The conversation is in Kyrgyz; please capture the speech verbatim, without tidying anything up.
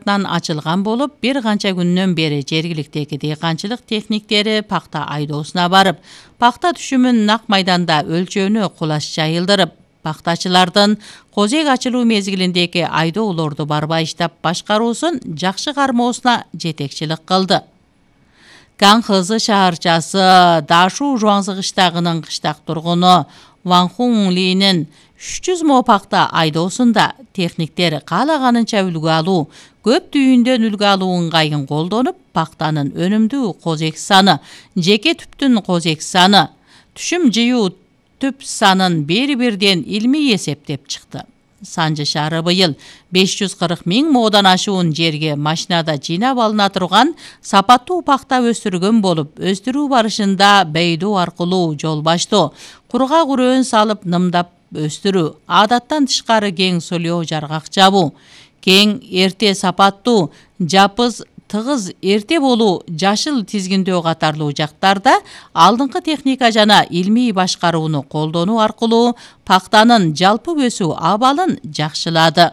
тарапынан ачылган болуп, бир канча күндөн бери жергиликтеги дыйканчылык техниктери пакта айдоосуна барып, пакта түшүмүн нак майданда өлчөөнү кулаш жайылдырып, пактачылардын козек ачылуу мезгилиндеги айдоолорду барбай иштеп башкаруусун жакшы кармоосуна жетекчилик кылды. Канхызы шаарчасы Дашу Жуаңзы кыштагынын кыштак тургуну Ван Хун Линин үч жүз мо пакта айдоосунда техниктер каалаганынча үлгү алуу, көп түйүндөн үлгү алуу ыңгайын колдонуп, пактанын өнүмдүү козек саны, жеке түптүн козек саны, түшүм жыюу түп санын бири-бирден илмий эсептеп чыкты. Санжы шаары быйыл беш жүз кырк миң моодан ашуун жерге машинада жыйнап алына турган сапаттуу пакта өстүргөн болуп, өстүрүү барышында бейдоо аркылуу жол баштоо, кургак үрөөн салып нымдап өстүрүү, адаттан тышкары кең солио жаргак жабуу, кең эрте сапаттуу, жапыз тыгыз эрте болуу, жашыл тизгиндөө катарлуу жактарда алдыңкы техника жана илмий башкарууну колдонуу аркылуу пактанын жалпы өсүү абалын жакшылады.